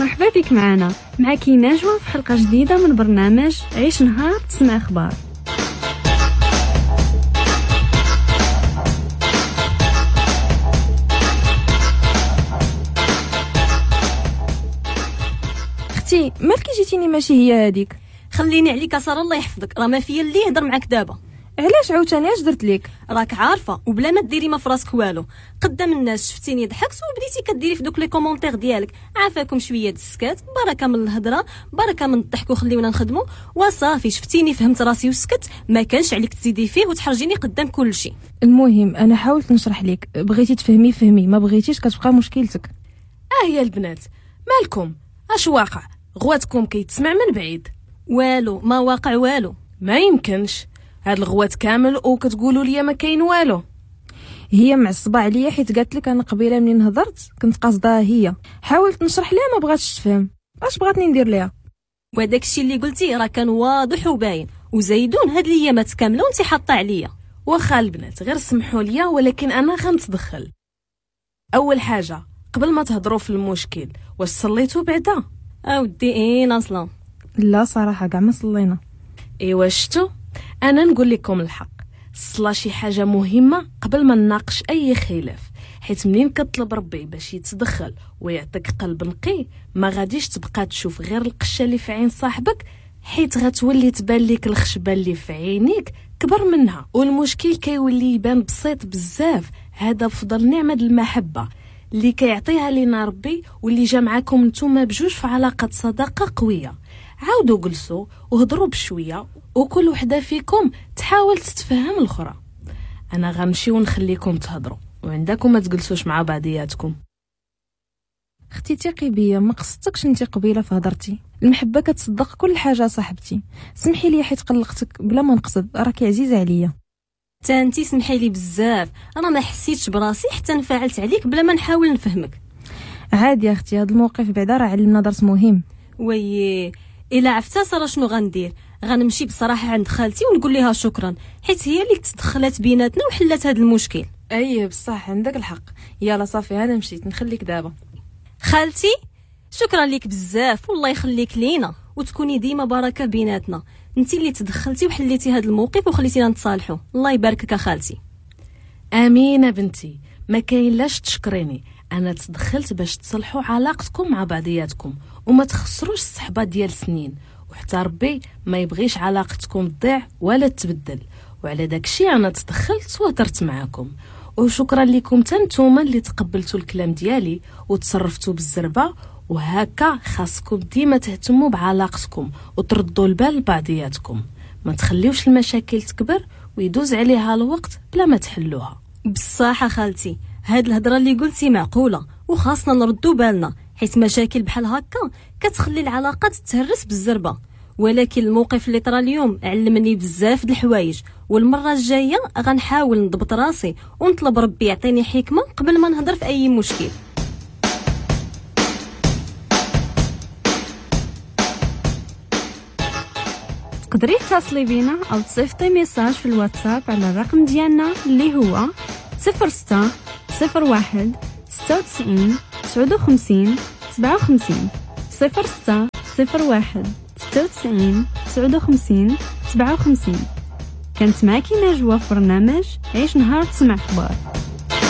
مرحبا بك معنا، معك نجوى في حلقة جديدة من برنامج عيش نهار تسمع أخبار. اختي مالك جيتيني ماشي هي هذيك؟ خليني عليك ساره الله يحفظك، راه ما فيا اللي يهضر معاك دابا. علاش عاوتاني اش درت لك؟ راك عارفه وبلا ما ديري ما فراسك والو، قدام الناس شفتيني ضحكت وبديتي كديري في دوك les commentaires ديالك. عافاكم شوية د السكات، بركة من الهضرة، بركة من الضحك وخليونا نخدموا. وصافي شفتيني فهمت راسي وسكت، ما كانش عليك تزيدي فيه وتحرجيني قدام كل شيء. المهم انا حاولت نشرح لك، بغيتي تفهمي فهمي، ما بغيتيش كتبقى مشكلتك. يا البنات مالكم؟ اش واقع؟ غواتكم كيتسمع من بعيد. والو ما واقع والو. ما يمكنش هاد الغوات كامل وكتقولوا لي ما كاين والو. هي معصبة عليا حيت قالت لك انا قبيلة منين هضرت كنت قاصداها هي، حاولت نشرح لها ما بغاتش تفهم. اش بغاتني ندير ليها؟ وداك الشيء اللي قلتي راه كان واضح وباين، وزيدون هاد الايامات كاملة وانت حاطه عليا. واخا البنات غير سمحوا لي، ولكن انا غنتدخل. اول حاجة قبل ما تهضروا في المشكل، واش صليتوا بعدا؟ اودي اين اصلا؟ لا صراحة كاع ما صلينا. ايوا شتو، انا نقول لكم الحق، الصلاة شي حاجة مهمة قبل ما نناقش اي خلاف، حيت منين كطلب ربي باش يتدخل ويعطيك قلب نقي ما غاديش تبقى تشوف غير القشه اللي في عين صاحبك، حيت غتولي تبان لك الخشبة اللي في عينيك كبر منها، والمشكل كيولي يبان بسيط بزاف. هذا بفضل نعمه المحبة اللي كيعطيها لينا ربي واللي جا معاكم نتوما بجوج في علاقة صداقه قوية. عاودوا جلسوا وهضروا بشوية، وكل وحده فيكم تحاول تتفهم الاخرى. انا غنمشي ونخليكم تهضروا، وعندكم ما تجلسوش مع بعضياتكم. اختي ثقي بيا، ما قصدتكش انت قبيلة في هضرتي. المحبة كتصدق كل حاجة صاحبتي. سمحي لي حيت قلقتك بلا ما نقصد، راكي عزيزه عليا. حتى انتي سمحي لي بزاف، انا ما حسيتش براسي حتى انفعلت عليك بلا ما نحاول نفهمك. عادي يا اختي، هذا الموقف بعدا راه علمنا درس مهم. وي الا عرفتها ساره شنو غندير؟ غنمشي بصراحة عند خالتي ونقول لها شكرا، حيت هي اللي تدخلت بيناتنا وحلت هذا المشكل. اي بصح عندك الحق. يلا صافي انا مشيت نخليك دابا. خالتي شكرا لك بزاف، والله يخليك لينا وتكوني ديما بركة بيناتنا. انت اللي تدخلتي وحليتي هذا الموقف وخليتينا نتصالحوا، الله يباركك خالتي. امينه بنتي، ما كاين لاش تشكريني، انا تدخلت باش تصلحوا علاقتكم مع بعضياتكم وما تخسروش الصحبة ديال سنين، وحتى ربي ما يبغيش علاقتكم تضيع ولا تبدل، وعلى داكشي انا تدخلت وهضرت معاكم. وشكرا لكم حتى نتوما اللي تقبلتوا الكلام ديالي وتصرفتوا بالزربه، وهكا خاصكم ديما تهتموا بعلاقتكم وتردوا البال لبعضياتكم، ما تخليوش المشاكل تكبر ويدوز عليها الوقت بلا ما تحلوها. بصح خالتي هاد الهضرة اللي قلتي معقولة، وخاصنا نردوا بالنا حيت مشاكل بحال هكا كتخلي العلاقات تهرس بالزربه. ولكن الموقف اللي طرا اليوم علمني بزاف د الحوايج، والمرة الجاية غنحاول نضبط راسي ونطلب ربي يعطيني حكمه قبل ما نهضر في اي مشكل. تقدري تتصلي بينا او تصيفطي message في الواتساب على الرقم ديالنا اللي هو 06 01 96 59 57 06 01 96 59 57. كانت معاكي نجوى في برنامج عيش نهار تسمع اخبار.